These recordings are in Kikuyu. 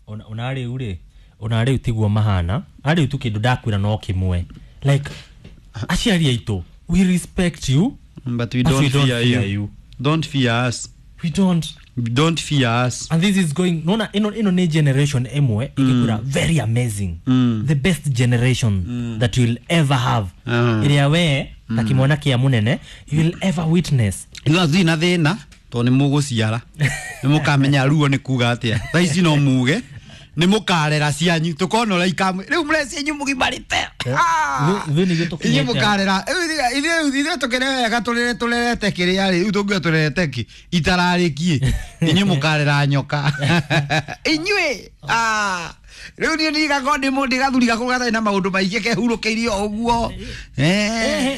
Ona rĩu rĩ, ona rĩu tiguo mahana. Arĩu tu kĩndũ ndakwĩra no kĩmwe, like aciari aitũ, we respect you, but we but don't, we don't fear, fear you. you. Don't fear us. We don't. Don't fear us. And this is going, nona ĩno nĩ generation ĩmwe ĩgĩkũra very amazing, the best generation that you'll ever have, ĩrĩa we ta kĩmwana kĩa mũnene you will ever witness. Ithuĩ tũtirĩ na thĩna tondũ nĩ mũgũciara, nĩ mũkamenya ruo nĩ kuga atĩa. Thaa ici no muge nĩ mũkarera cianyu, tũkona ũrĩa ikamwe rĩu mũrecia inyuĩ mũgimarĩte. Ithuĩ nĩguo Inyuĩ tũkinyĩte. Mũkarera ithuĩ tũkĩre wega, tũrere tũrerete kĩrĩa rĩ, rĩu tũngiuga tũrerete kĩ itararĩkie, inyuĩ mũkarera nyoka inyuĩ. Ah, rĩu niĩ ndigakorwo ndĩ mũndũ gathuri gakũrũ gatarĩ na maũndũ maingĩ, kehurũkĩirie o ũguo.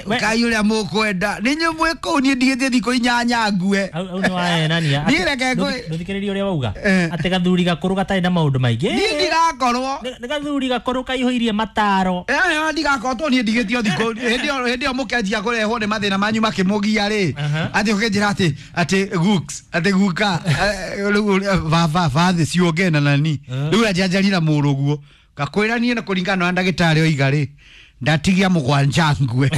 We- Kai ũrĩa mũkwenda nĩ inyuĩ mwĩ kũu, niĩ ndigĩtie thikũ 8 ngue. Hau nĩ waenania. Niĩ reke ngwĩ- Ndũthikĩrĩrie ũrĩa wauga atĩ gathuri gakũrũ gatarĩ na maũndũ maingĩ. Niĩ ndigakorwo. Nĩ gathuri gakũrũ kaihũirie mataro. Ndigakorwo tondũ niĩ ndigĩtio thikũ hĩndĩ ĩyo mũkenjia kũrehwo nĩ mathĩna manyu makĩmũgia rĩ, atĩ ũkĩnjĩra atĩ guks, atĩ guka, rĩu baba bathĩ ciũnge na nani rĩu anjanjarira mũrũguo ngakwĩra niĩ na kũringana na ndagĩtarĩ oiga rĩ, ndatigia 7 ngue,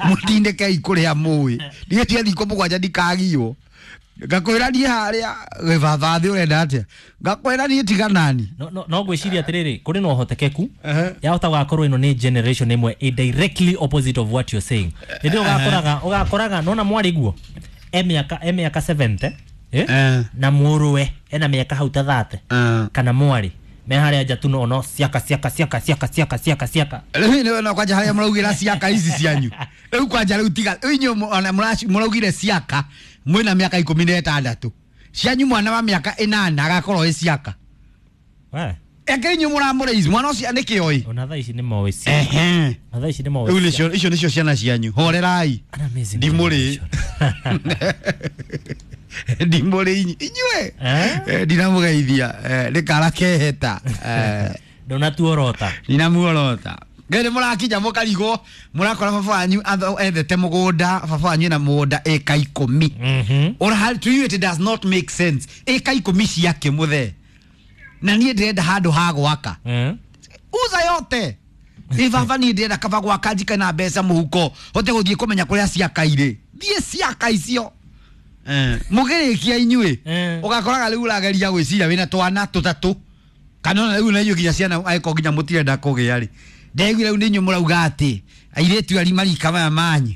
mũtindĩkei kũrĩa mũĩ, ndigĩtie thikũ 7 ndikagiywo. Ngakwĩra niĩ harĩa wĩ baba thĩ ũrenda atĩa, ngakwĩra niĩ tiga nani. No ngwĩciria atĩrĩrĩ, kũrĩ na ũhotekeku yahota gũgakorwo ĩno nĩ generation ĩmwe ĩ directly opposite of what you're saying. Hĩndĩ ĩyo ũgakoraga nona mwarĩ guo e mĩaka 70, eh? Na mũrũwe ena mĩaka hau ta 30, kana mwarĩ me harĩa nja tu no ciaka ciaka ciaka ciaka ciaka ciaka ciaka. Rĩu nĩ no kwanja harĩa mũraugĩra ciaka ici cianyu rĩu, kwanja rĩu tiga rĩu inyuĩ ona mũraugire ciaka mwĩna mĩaka 16 cianyu, mwana wa mĩaka 8 agakorwo ĩ ciaka. We. Eke inyuĩ mũramũrĩici mwana ũcio nĩkĩ oĩ. Ona thaa ici nĩ moĩ ciaka. Ona thaa ici nĩ moĩ Rĩu ciaka. nĩcio icio nĩcio ciana cianyu, horerai. An amazing Ndimũrĩ. generation. Ndimũrĩ inyuĩ. Eh? Ndinamũgeithia, nĩ kara keheta. Ndũnatuorota. Ndinamuorota ngai nĩ mũrakinya mũkarigwo, mũrakora baba wanyu ethete mũgũnda, baba wanyu ena mũgũnda ĩka 10. Or to you it does not make sense, ĩka 10 ciake mũthee, na niĩ ndĩrenda handũ ha gwaka. Uza yote ĩ baba, niĩ ndĩrenda kaba gwaka njike na mbeca mũhuko, hote gũthiĩ kũmenya kũrĩa ciaka irĩ, thiĩ ciaka icio. Mũgĩrĩkia inyuĩ ũgakoraga rĩu ũrageria gwĩciria wĩna twana tũtatũ, kana ona rĩu na inyuĩ nginya ciana angĩkorwo nginya mũtirenda kũgĩa rĩ, ndegwire rĩu nĩ inyuĩ mũrauga atĩ airĩtu ari marika maya manyu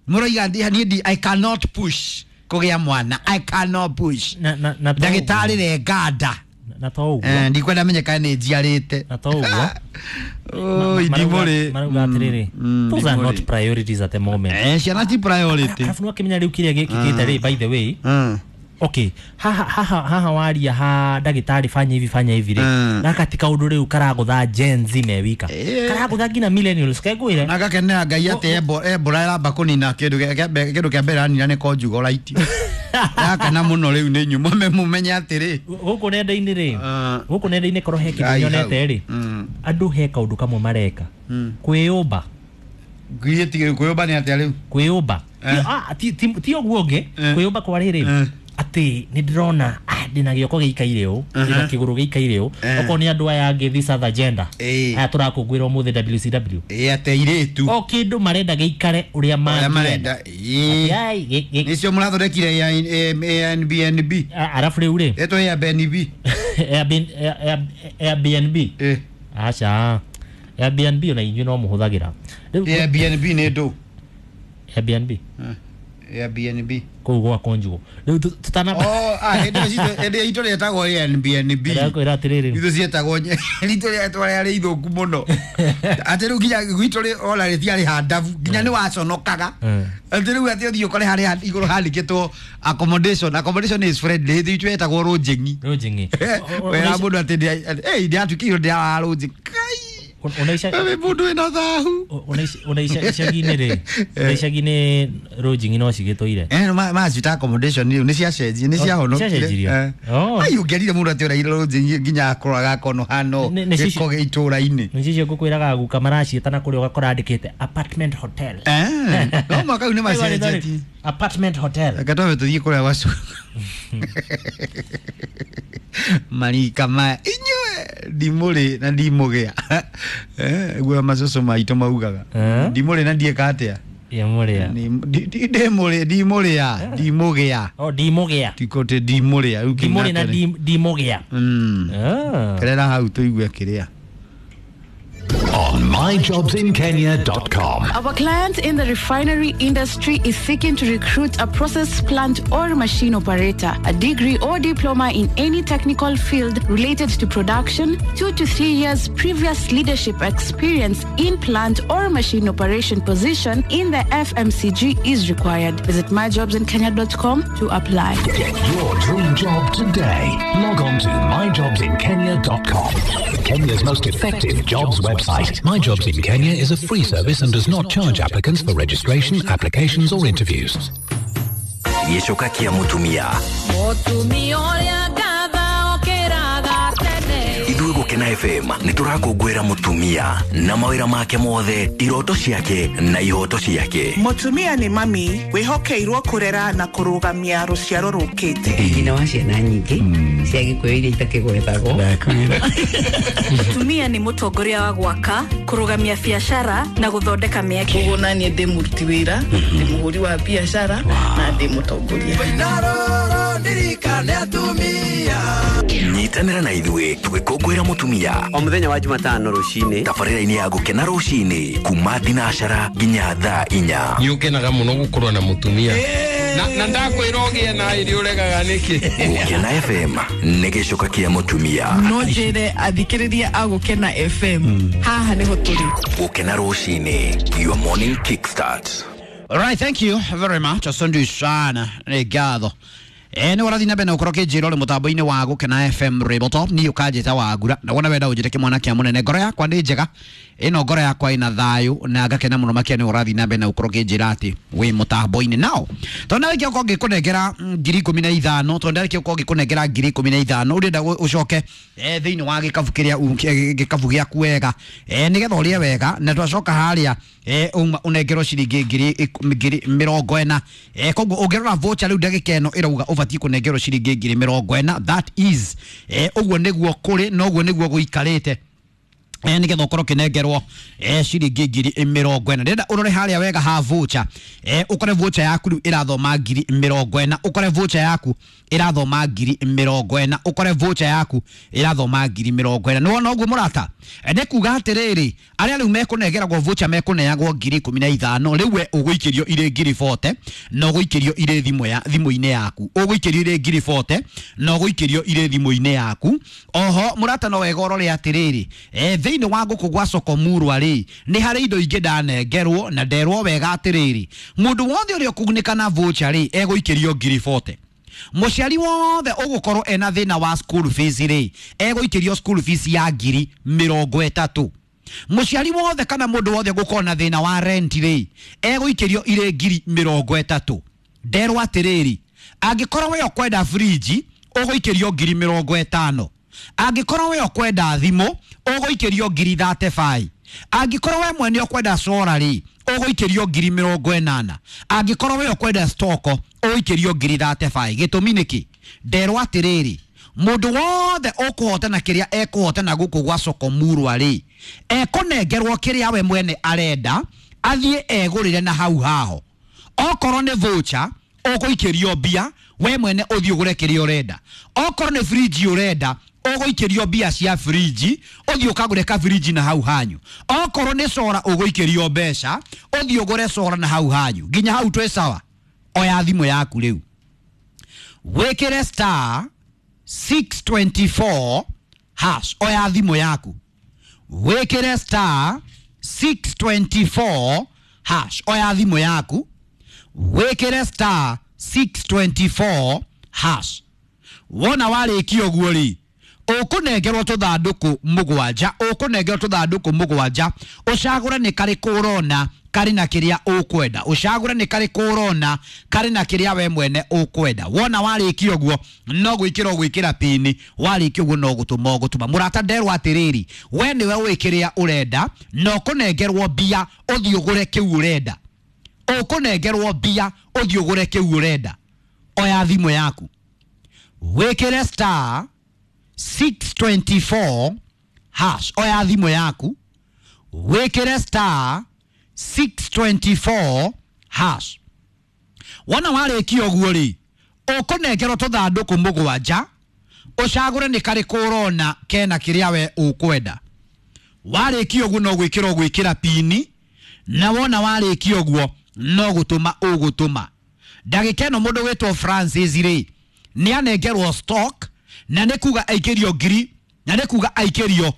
mũroiga niĩ I cannot push kũgĩa mwana, I cannot push. Na to Ndagĩtarĩ ũguo. renganda. Na to ũguo. Ndikwenda menye kana nĩ njiarĩte. Na to ũguo. Oi, ndimũrĩ. Marauga atĩrĩrĩ, those are not Ndimũrĩ. priorities at the moment. Ciana ti priority. Arabu nĩwakĩmenya rĩu kĩrĩa gĩkĩkĩte rĩ, by the way, okay, haha waria ha ndagĩtarĩ, fanya hivi, fanya hivi rĩ, gaka ti kaũndũ rĩu karagũtha Gen Z me wika, karagũtha nginya millennials kengwĩre. Na ngakenera Ngai atĩ Ebola ĩramba kũnina kĩndũ kĩndũ kĩa mbere ranina nĩ conjugolite, yakana mũno rĩu nĩ inyuĩ mũmenye atĩrĩ. Gũkũ nenda-inĩ rĩ, gũkũ nenda-inĩ korwo he kĩndũ Ngai hau. nyonete rĩ, andũ he kaũndũ kamwe mareka, kwĩyũmba. Ngiriĩ kwĩyũmba nĩ atĩa rĩu? Kwĩyũmba. Ti ũguo ũngĩ. Kwĩyũmba kwa rĩrĩ, atĩ nĩ ndĩrona, ndĩna gĩoko gĩikaire ũũ, ndĩna kĩgũrũ gĩikaire ũũ. Okorwo nĩ andũ aya angĩ, this other gender, aya tũrakũngũĩra ũmũthĩ, WCW, Ĩ atĩ airĩtu o kĩndũ marenda gĩikare ũrĩa ũrĩa mangĩenda. Marenda. Atĩ, ai, Nĩcio mũrathondekire Airbnb. Arabu rĩu rĩ, Ĩtwo Airbnb. Airbnb. Aca, Airbnb ona inyuĩ no mũhũthagĩra rĩu. Airbnb nĩ ndũ? Airbnb. Airbnb. Kũu gwa Conjugo rĩu tutana Oh, ah, hĩndĩ ĩyo hĩndĩ ĩyo itũ rĩetagwo Airbnb. Ndakwĩra atĩrĩrĩ, Itũ cietagwo ritũ rĩetwa rĩarĩ ithũku mũno, atĩ rĩu nginya gwitũ ona rĩtiarĩ handabu, nginya nĩ waconokaga, atĩ rĩu atĩ ũthiĩ ũkore harĩa igũrũ handĩkĩtwo accommodation is friendly. Hĩndĩ itũ yetagwo lodging. Lodging. Wera mũndũ atĩ ndĩratuĩkĩirwo ndĩrara lodging. Kai. Ona ica Wĩ mũndũ wĩna thahu. Ona icagi-inĩ rĩ, ona icagi-inĩ lodging no cigĩtũire. Macita accommodation rĩu nĩ ciacenjie, nĩ ciahonokire. Ciacenjirio? Oh. Ai, ũngĩerire mũndũ atĩ ũraire lodging nginya akorwo agakono hano gĩko gĩ itũra-inĩ. Nĩ cicio ngũkwĩraga guka maraciĩta na kũrĩa ũgakora andĩkĩte apartment hotel. No mwaka rĩu nĩ macenjetie. Apartment hotel. Reke twambe tũthiĩ kũrĩa gwa Marika maya inyue ndimũrĩ na ndimũgĩa. Guo macoco maitũ maugaga. Ndimũrĩ na ndiĩka atĩa? Ndimũrĩa. Ndimũrĩ ndimũrĩa ndimũgĩa. Oh, ndimũgĩa. Tikote ndimũrĩa. Ndimũrĩ na ndimũgĩa. Kerera hau tũigue kĩrĩa. On myjobsinkenya.com. Our client in the refinery industry is seeking to recruit a process plant or machine operator, a degree or diploma in any technical field related to production, 2 to 3 years previous leadership experience in plant or machine operation position in the FMCG is required. Visit myjobsinkenya.com to apply. Get your dream job today. Log on to myjobsinkenya.com. Kenya's most effective jobs website. My Jobs in Kenya is a free service and does not charge applicants for registration, applications or interviews. Gĩcoka kĩa mũtumia. Mũtumia ũrĩa ngatha okĩraga tene. Ithuĩ Gũkena FM nĩ tũrakũngũĩra mũtumia na mawĩra make mothe, iroto ciake na ihoto ciake. Mũtumia nĩ mami wĩhokeirwo kũrera na kũrũgamia rũciaro rũkĩte. Nyina wa ciana nyingĩ cia Gĩkũyũ iria itakĩgwetagwo. Mũtumia nĩ mũtongoria wa gwaka, kũrũgamia biacara na gũthondeka mĩeke. Koguo naniĩ ndĩ mũruti wĩra, ndĩ mũhũri wa biacara na ndĩ mũtongoria. Nyitanĩra na ithuĩ tũgĩkũngũĩra mũtumia o mũthenya wa Jumatano rũcinĩ tabarĩra-inĩ ya Gũkena rũcinĩ kuma thinacara nginya thaa 4. Nĩ ũkenaga mũno gũkorwo na mũtumia na ndakwĩra ũgĩe na ĩrĩ ũregaga nĩkĩ. Gũkena FM nĩ gĩcoka kĩa mũtumia. No njĩre athikĩrĩria a Gũkena FM haha nĩho tũrĩ. Gũkena rũcinĩ, your morning kickstart. All right, thank you very much. Asante sana. Nĩ ngatho. Nĩ ũrathiĩ na mbere na gũkorwo ũkĩnjĩra ũrĩ mũtambo-inĩ wa Gũkena FM Rebotop. Niĩ ũkanjĩta Wangura na wona wenda ũnjĩre kĩmwana kĩa mũnene. Ngoro yakwa nĩ njega, ĩno ngoro yakwa ĩna thayũ na ngakena mũno makĩria. Nĩ ũrathiĩ na mbere na gũkorwo ũkĩnjĩra atĩ wĩ mũtambo-inĩ nao. Tondũ ndarĩkia gũkorwo ngĩkũnengera 15,000, tondũ ndarĩkia gũkorwo ngĩkũnengera 15,000, ũrenda ũcoke thĩinĩ wa gĩkabu kĩrĩa gĩkabu gĩaku wega, nĩgetha ũrĩe wega, na twacoka harĩa ũnengerwo ciringi 40,000. Koguo ũngĩrora voucher rĩu ndagĩka ĩno ĩrauga ũbatiĩ kũnengerwo ciringi 40,000. That is ũguo nĩguo kũrĩ na ũguo nĩguo gũikarĩte, nĩgetha ũkorwo ũkĩnengerwo ciringi 40,000. Ndĩrenda ũrore harĩa wega ha voucher, ũkore voucher yaku rĩu ĩrathoma 40,000, ũkore voucher yaku ĩrathoma 40,000, ũkore voucher yaku ĩrathoma 40,000. Nĩwona ũguo mũrata? Nĩ kuga atĩrĩrĩ, arĩa rĩu mekũnengeragwo voucher mekũneagwo 15,000. Rĩu we ũgũikĩrio irĩ 40,000 na ũgũikĩrio irĩ thimũ-inĩ yaku, ũgũikĩrio irĩ 40,000 na ũgũikĩrio irĩ thimũ-inĩ yaku. Oho mũrata, no wega ũrore atĩrĩrĩ, thĩinĩ wa gũkũ gwa Sokomurwa rĩ, nĩ harĩ indo ingĩ ndanengerwo na nderwo wega atĩrĩrĩ, mũndũ wothe ũrĩa ũkũgunĩka na voucher rĩ, egũikĩrio 40,000. Mũciari wothe ũgũkorwo ena thĩna wa school fees rĩ, egũikĩrio school fees ya 30,000. Mũciari wothe kana mũndũ wothe ũgũkorwo na thĩna wa rent rĩ, egũikĩrio irĩ 30,000. Nderwo atĩrĩrĩ, angĩkorwo we ũkwenda fridge ũgũikĩrio 50,000. Angĩkorwo we ũkwenda thimũ ũgũikĩrio 35,000. Angĩkorwo we mwene ũkwenda solar rĩ, ũgũikĩrio 80,000. Angĩkorwo we ũkwenda stoko ũgũikĩrio 35,000. Gĩtũmi nĩkĩ? Nderwo atĩrĩrĩ, mũndũ wothe ũkũhotana kĩrĩa ekũhotana gũkũ gwa Sokomurwa rĩ, ekũnengerwo kĩrĩa we mwene arenda athiĩ egũrĩre na hau haho. Okorwo nĩ voucher ũgũikĩrio mbia, we mwene ũthiĩ ũgũre kĩrĩa ũrenda. Okorwo nĩ fridge ũrenda, ũgũikĩrio mbia cia fridge, ũthiĩ ũkagũre ka fridge na hau hanyu. Okorwo nĩ sora ũgũikĩrio mbeca, ũthiĩ ũgũre sora na hau hanyu. Nginya hau twĩ sawa. Oya thimũ yaku rĩu, wĩkĩre star 624 hash. Oya thimũ yaku, wĩkĩre star 624 hash. Oya thimũ yaku, wĩkĩre star 624 hash. Wona warĩkia ũguo rĩ, ũkũnengerwo tũthandũkũ 7, ũkũnengerwo tũthandũkũ 7, ũcagũre nĩ karĩkũ ũrona karĩ na kĩrĩa ũkwenda, ũcagũre nĩ karĩkũ ũrona karĩ na kĩrĩa we mwene ũkwenda. Wona warĩkia ũguo no gwĩkĩra ũgwĩkĩra pini, warĩkia ũguo no gũtũma ũgũtũma. Mũrata, nderwo atĩrĩrĩ, we nĩwe ũĩ kĩrĩa ũrenda na ũkũnengerwo mbia ũthiĩ ũgũre kĩu ũrenda. Ũkũnengerwo mbia ũthiĩ ũgũre kĩu ũrenda. Oya thimũ yaku, wĩkĩre star 624 hash. Oya thimũ yaku wĩkĩre star 624 hash. Wona warĩkia ũguo rĩ, ũkũnengerwo tũthandũkũ mũgwanja, ũcagũre nĩ karĩkũ ũrona kena kĩrĩa we ũkwenda. Warĩkia ũguo no gwĩkĩra ũgwĩkĩra pini, na wona warĩkia ũguo no gũtũma ũgũtũma. Ndagĩka ĩno mũndũ wĩtwo Francis rĩ, nĩ anengerwo stock, na nĩ kuga aikĩrio ngiri, na nĩ kuga aikĩrio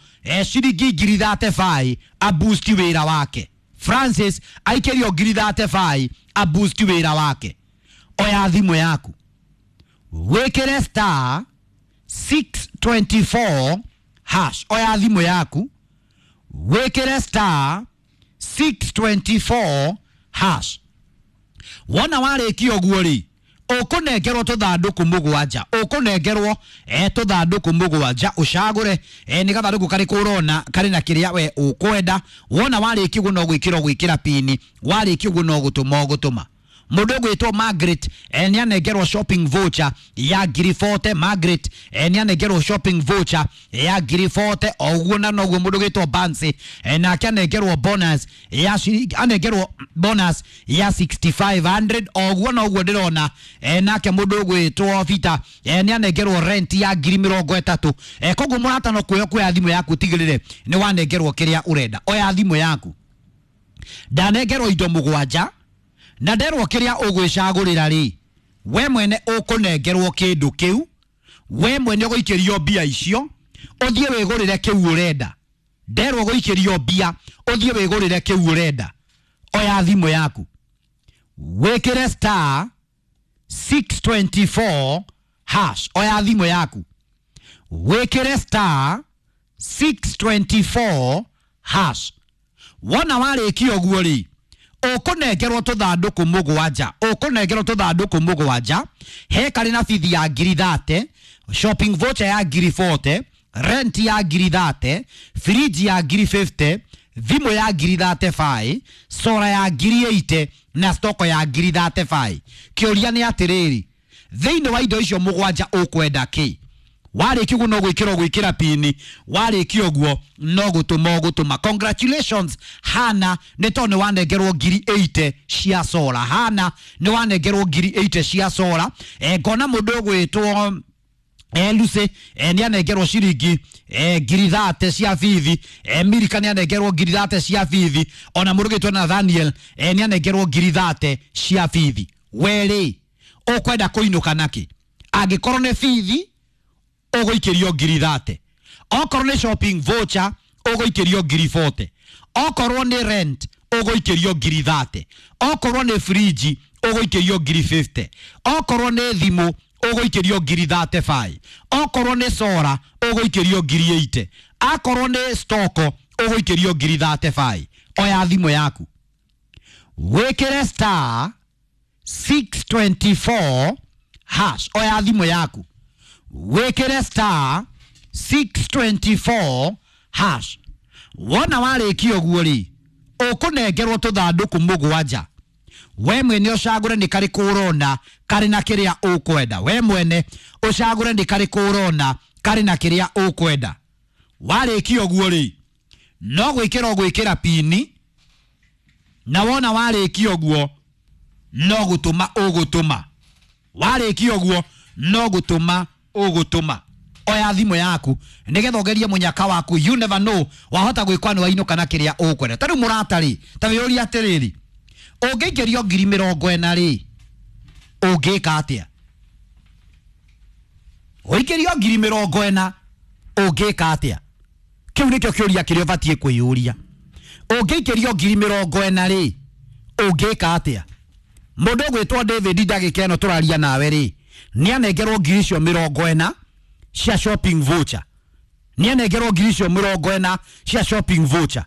ciringi ngiri 35 aboost wĩra wake. Francis aikĩrio ngiri 35 aboost wĩra wake. Oya thimũ yaku wĩkĩre star 624 hash. Oya thimũ yaku wĩkĩre star 624 hash. Wona warĩkia ũguo rĩ, ũkũnengerwo tũthandũkũ mũgwanja, ũkũnengerwo tũthandũkũ mũgwanja, ũcagũre nĩ gathandũkũ karĩkũ ũrona karĩ na kĩrĩa we ũkwenda. Wona warĩkia ũguo no gwĩkĩra ũgwĩkĩra pini, warĩkia ũguo no gũtũma ũgũtũma. Mũndũ ũgwĩtwo Margaret nĩ anengerwo shopping voucher ya ngiri 40. Margaret nĩ anengerwo shopping voucher ya ngiri 40. O ũguo na noguo mũndũ ũgwĩtwo Bansi nake anengerwo bonus ya ciringi, anengerwo bonus ya 6500. O ũguo na ũguo ndĩrona nake mũndũ ũgwĩtwo Vita nĩ anengerwo rent ya ngiri 30. Koguo mũrata no kuoya thimũ yaku tigĩrĩre nĩ wanengerwo kĩrĩa ũrenda. Oya thimũ yaku, ndanengerwo indo mũgwanja na nderwo kĩrĩa ũgwĩcagũrĩra rĩ, we mwene ũkũnengerwo kĩndũ kĩu, we mwene ũgũikĩrio mbia icio, ũthiĩ wĩgũrĩre kĩu ũrenda. Nderwo gũikĩrio mbia, ũthiĩ wĩgũrĩre kĩu ũrenda. Oya thimũ yaku wĩkĩre star 624 hash. Oya thimũ yaku wĩkĩre star 624 hash. Wona warĩkia ũguo rĩ, ũkũnengerwo tũthandũkũ mũgwanja, ũkũnengerwo tũthandũkũ mũgwanja, he karĩ na bithi ya ngiri 30, shopping voucher ya ngiri 40, rent ya ngiri 30, fridge ya ngiri 50, thimũ ya ngiri 35, sora ya ngiri 80 na stoko ya ngiri 35. Kĩũria nĩ atĩrĩrĩ, thĩinĩ wa indo icio mũgwanja ũkwenda kĩ? Warĩkia ũguo no gwĩkĩra ũgwĩkĩra pini, warĩkia ũguo no gũtũma ũgũtũma. Congratulations Hana, nĩ tondũ nĩ wanengerwo ngiri 80 cia sora. Hana nĩ wanengerwo ngiri 80 cia sora. Ngona mũndũ ũgwĩtwo Lucy nĩ anengerwo ciringi ngiri 30 cia bithi. Mirika nĩ anengerwo ngiri 30 cia bithi. Ona mũndũ ũgwĩtwo Nathaniel nĩ anengerwo ngiri 30 cia bithi. We rĩ, ũkwenda kũinũka nakĩ? Angĩkorwo nĩ bithi ũgũikĩrio ngiri 30, okorwo nĩ shopping voucher ũgũikĩrio ngiri 40, okorwo nĩ rent ũgũikĩrio ngiri 30, okorwo nĩ fridge ũgũikĩrio ngiri 50, okorwo nĩ thimũ ũgũikĩrio ngiri 35, okorwo nĩ sora ũgũikĩrio ngiri 80, akorwo nĩ stoko ũgũikĩrio ngiri 35. Oya thimũ yaku wĩkĩre star 624 hash. Oya thimũ yaku wĩkĩre star 624 hash. Wona warĩkia ũguo rĩ, ũkũnengerwo tũthandũkũ mũgwanja, we mwene ũcagũre nĩ karĩkũ ũrona karĩ na kĩrĩa ũkwenda. We mwene ũcagũre nĩ karĩkũ ũrona karĩ na kĩrĩa ũkwenda. Warĩkia ũguo rĩ, no gwĩkĩra ũgwĩkĩra pini, na wona warĩkia ũguo no gũtũma ũgũtũma. Warĩkia ũguo no gũtũma ũgũtũma. Oya thimũ yaku nĩgetha ũgerie mũnyaka waku, you never know, wahota gwĩkwa nĩ wainũka na kĩrĩa ũkwenda. Ta rĩu mũrata rĩ, ta wĩyũrie atĩrĩrĩ, ũngĩikĩrio ngiri 40 rĩ, ũngĩka atĩa? Ũikĩrio ngiri 40 ũngĩka atĩa? Kĩu nĩkĩo kĩũria kĩrĩa ũbatiĩ kwĩyũria. Ũngĩikĩrio ngiri 40 rĩ, ũngĩka atĩa? Mũndũ ũgwĩtwo David ndagĩka ĩno tũraria nawe rĩ, nĩ anengerwo ngiri icio 40 cia shopping voucher. Nĩ anengerwo ngiri icio 40 cia shopping voucher.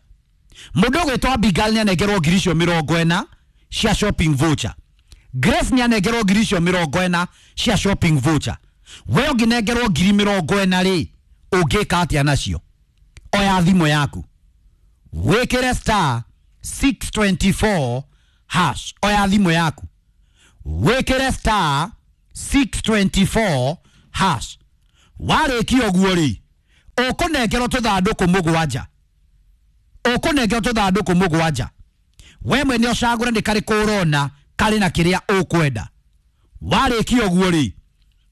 Mũndũ ũgwĩtwo Abigail nĩ anengerwo ngiri icio 40 cia shopping voucher. Grace nĩ anengerwo ngiri icio 40 cia shopping voucher. We ũngĩnengerwo ngiri 40 rĩ, ũngĩka atĩa nacio? Oya thimũ yaku wĩkĩre star 624 hash. Oya thimũ yaku wĩkĩre star 624 hash. Warĩkia ũguo rĩ, ũkũnengerwo tũthandũkũ mũgwanja. Ũkũnengerwo tũthandũkũ mũgwanja. We mwene ũcagũre nĩ karĩkũ ũrona karĩ na kĩrĩa ũkwenda. Warĩkia ũguo rĩ,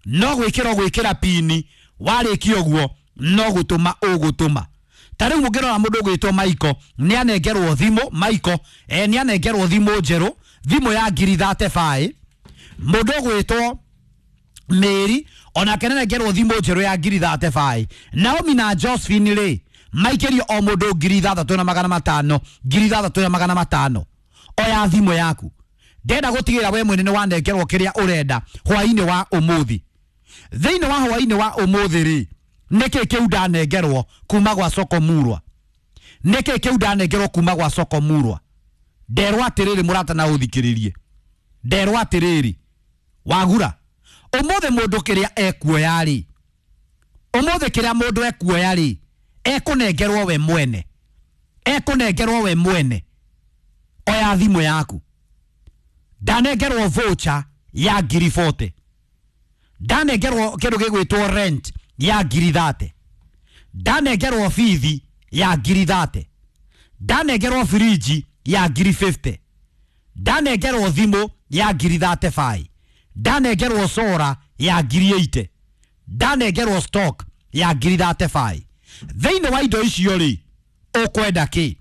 no gwĩkĩra ũgwĩkĩra pini. Warĩkia ũguo no gũtũma ũgũtũma. Ta rĩu mũngĩrora mũndũ ũgwĩtwo Michael nĩ anengerwo thimũ. Michael nĩ anengerwo thimũ njerũ, thimũ ya ngiri 35. Mũndũ ũgwĩtwo Mary onake nĩ anengerwo thimũ njerũ ya ngiri 35. Naomi na Josephine rĩ, maikĩrio o mũndũ ngiri 6,500, ngiri 6,500. Oya thimũ yaku. Ndenda gũtigĩrĩra we mwene nĩ wanengerwo kĩrĩa ũrenda hwaĩ-inĩ wa ũmũthĩ. Thĩinĩ wa hwaĩ-inĩ wa ũmũthĩ rĩ, nĩkĩ kĩu ndanengerwo kuma gwa Soko Murwa? Nĩkĩ kĩu ndanengerwo kuma gwa Soko Murwa? Nderwo atĩrĩrĩ mũrata na ũthikĩrĩrie. Nderwo atĩrĩrĩ, wagura ũmũthĩ mũndũ kĩrĩa ekuoya rĩ, ũmũthĩ kĩrĩa mũndũ ekuoya rĩ, ekũnengerwo we mwene. Ekũnengerwo we mwene. Oya thimũ yaku. Ndanengerwo voucher ya ngiri 40. Ndanengerwo kĩndũ gĩgwĩtwo rent ya ngiri 30. Ndanengerwo bithi ya ngiri 30. Ndanengerwo firiji ya ngiri 50. Ndanengerwo thimũ ya ngiri 35. Ndanengerwo sora ya ngiri 80. Ndanengerwo stock ya ngiri 35. Thĩinĩ wa indo icio rĩ, ũkwenda kĩ?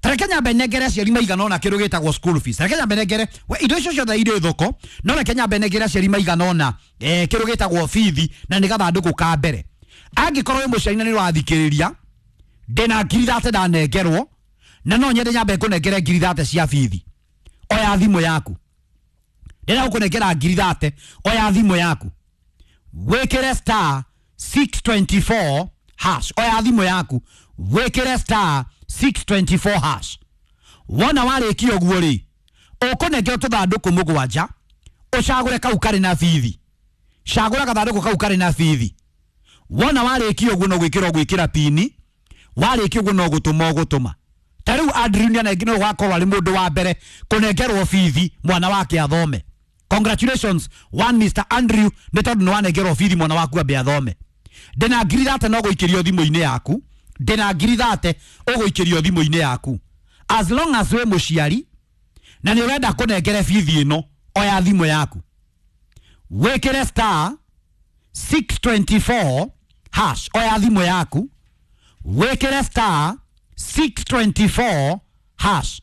Tareke nyambe nengere aciari maigana ũna kĩndũ gĩtagwo school fees. Tareke nyambe nengere we indo icio ciothe irĩ thoko, no reke nyambe nengere aciari maigana ũna kĩndũ gĩtagwo bithi, na nĩ gathandũkũ ka mbere. Angĩkorwo wĩ mũciari na nĩ ũrathikĩrĩria, ndĩna ngiri 30 ndanengerwo, na no nyende nyambe ngũnengere ngiri 30 cia bithi. Oya thimũ yaku. Ndĩrenda gũkũnengera ngiri 30, oya thimũ yaku. Wĩkĩre star 624 hash. Oya thimũ yaku. Wĩkĩre star 624 hash. Wona warĩkia ũguo rĩ, ũkũnengerwo tũthandũkũ mũgwanja, ũcagũre kau karĩ na bithi. Cagũra gathandũkũ kau karĩ na bithi. Wona warĩkia ũguo no gwĩkĩra ũgwĩkĩra pini. Warĩkia ũguo no gũtũma ũgũtũma. Ta rĩu Andrew nĩ gwakorwo arĩ mũndũ wa mbere kũnengerwo bithi mwana wake athome. Congratulations one Mr. Andrew nĩ tondũ nĩ wanengerwo bithi mwana waku ambe athome. Ndĩna ngiri 30 no gũikĩrio thimũ-inĩ yaku. Ndĩna ngiri 30 ũgũikĩrio thimũ-inĩ yaku. As long as wĩ mũciari na nĩ ũrenda kũnengere bithi ĩno, oya thimũ yaku. Wĩkĩre star 624 hash. Oya thimũ yaku. Wĩkĩre star 624 hash.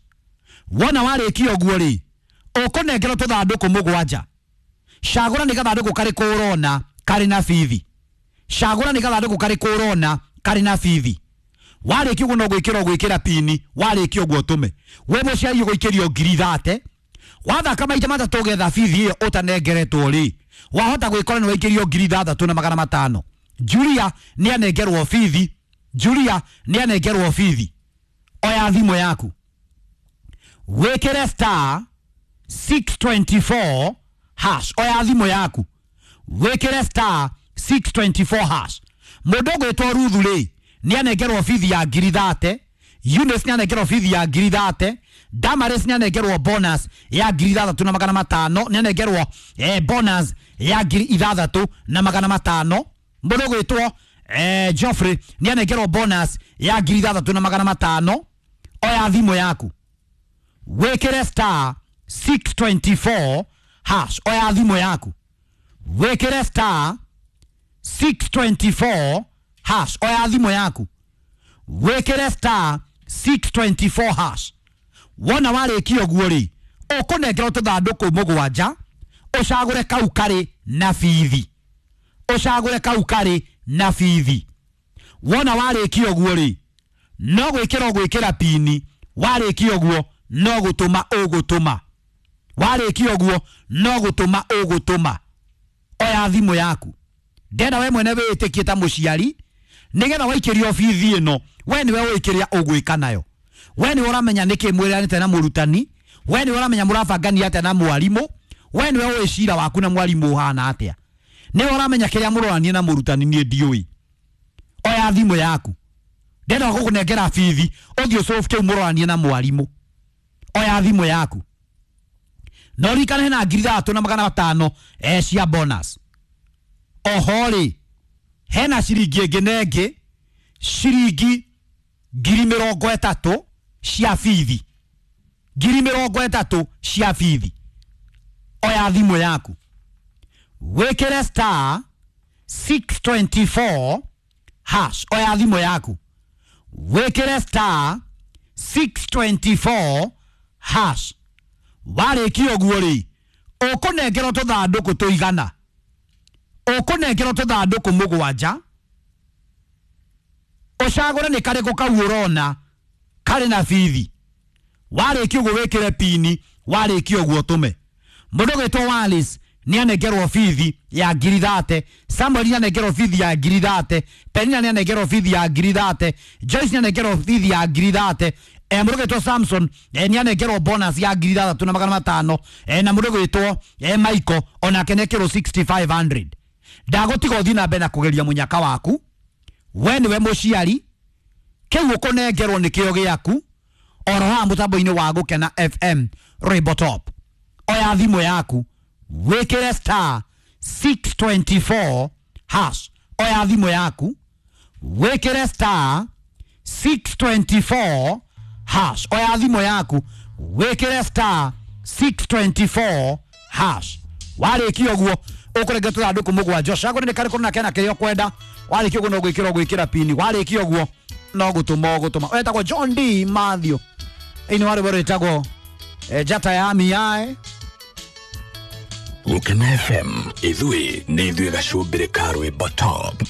Wona warĩkia ũguo rĩ, ũkũnengerwo tũthandũkũ mũgwanja. Cagũra nĩ gathandũkũ karĩkũ ũrona karĩ na bithi. Cagũra nĩ gathandũkũ karĩkũ ũrona karĩ na bithi. Warĩkia ũguo no gwĩkĩra ũgwĩkĩra pini. Warĩkia ũguo ũtũme. We mũciari ũgũikĩrio ngiri 30. Wathaka maita matatũ ũgetha bithi ĩyo ũtanengeretwo rĩ, wahota gwĩkora nĩ waikĩrio ngiri 6,500. Julia nĩ anengerwo bithi. Julia nĩ anengerwo bithi. Oya thimũ yaku. Wĩkĩre star 624 hash. Oya thimũ yaku. Wĩkĩre star 624 hash. Mũndũ ũgwĩtwo Ruthu rĩ, nĩ anengerwo bithi ya ngiri 30. Eunice nĩ anengerwo bithi ya ngiri 30. Damaris nĩ anengerwo bonus ya ngiri 6,500. Nĩ anengerwo bonus ya ngiri 6,500. Mũndũ ũgwĩtwo Geoffrey nĩ anengerwo bonus ya ngiri 6,500. Oya thimũ yaku. Wĩkĩre star 624 hash. Oya thimũ yaku. Wĩkĩre star 624 hash. Oya thimũ yaku. Wĩkĩre star 624 hash. Wona warĩkia ũguo rĩ, ũkũnengerwo tũthandũkũ mũgwanja, ũcagũre kau karĩ na bithi. Ũcagũre kau karĩ na bithi. Wona warĩkia ũguo rĩ, no gwĩkĩra ũgwĩkĩra pini. Warĩkia ũguo no gũtũma ũgũtũma. Warĩkia ũguo no gũtũma ũgũtũma. Oya thimũ yaku. Ndenda we mwene wĩĩtĩkie ta mũciari, nĩgetha waikĩrio bithi ĩno, we nĩwe ũĩ kĩrĩa ũgwĩka nayo. We nĩwe ũramenya nĩkĩ mwĩranĩte na mũrutani. We nĩwe ũramenya mũrabangania atĩa na mwarimũ. We nĩwe ũĩ cira waku na mwarimũ ũhana atĩa. Nĩwe ũramenya kĩrĩa mũroranie na mũrutani, niĩ ndiũĩ. Oya thimũ yaku. Ndenda gũkũnengera bithi, ũthiĩ ũsolve kĩu mũroranie na mwarimũ. Oya thimũ yaku. No ririkane hena ngiri 3,500 cia bonus. Oho rĩ, hena ciringi ĩngĩ na ĩngĩ, ciringi 30,000 cia bithi, 30,000 cia bithi. Oya thimũ yaku, wĩkĩre star 624 hash. Oya thimũ yaku, wĩkĩre star 624 hash. Warĩkia ũguo rĩ, ũkũnengerwo tũthandũkũ tũigana, ũkũnengerwo tũthandũkũ 7, ũcagũre nĩ karĩkũ kau ũrona karĩ na bithi. Warĩkia ũguo wĩkĩre pini, warĩkia ũguo ũtũme. Mũndũ ũgwĩtwo Wallace nĩ anengerwo bithi ya 30,000, Samuel nĩ anengerwo bithi ya 30,000, Penina nĩ anengerwo bithi ya 30,000, Joyce nĩ anengerwo bithi ya 30,000, mũndũ ũgwĩtwo Samson nĩ anengerwo bonus ya 6,500, na mũndũ ũgwĩtwo Michael onake nĩ ekĩrwo 6,500. Ndagũtiga ũthiĩ na mbere na kũgeria mũnyaka waku. We nĩwe mũciari, kĩu ũkũnengerwo nĩkĩo gĩaku, oro haha mũtambo-inĩ wa Gũkena FM Rainbow Top. Oya thimũ yaku, wĩkĩre star 624 hash. Oya thimũ yaku, wĩkĩre star 624 hash. Oya thimũ yaku, wĩkĩre star 624 hash. Warĩkia ũguo ũkũrenge tũthandũkũ 7, ũcagũre nĩ karĩkũ na kena kĩrĩa ũkwenda. Warĩkia ũguo no gwĩkĩra ũgwĩkĩra pini, warĩkia ũguo no gũtũma ũgũtũma. Wetagwo John D Mathew, ĩni wa rwĩmbo rwĩtagwo Njata ya Miae. Gũkena FM, ithuĩ nĩ ithuĩ gacũmbĩrĩ ka rwĩmbo top.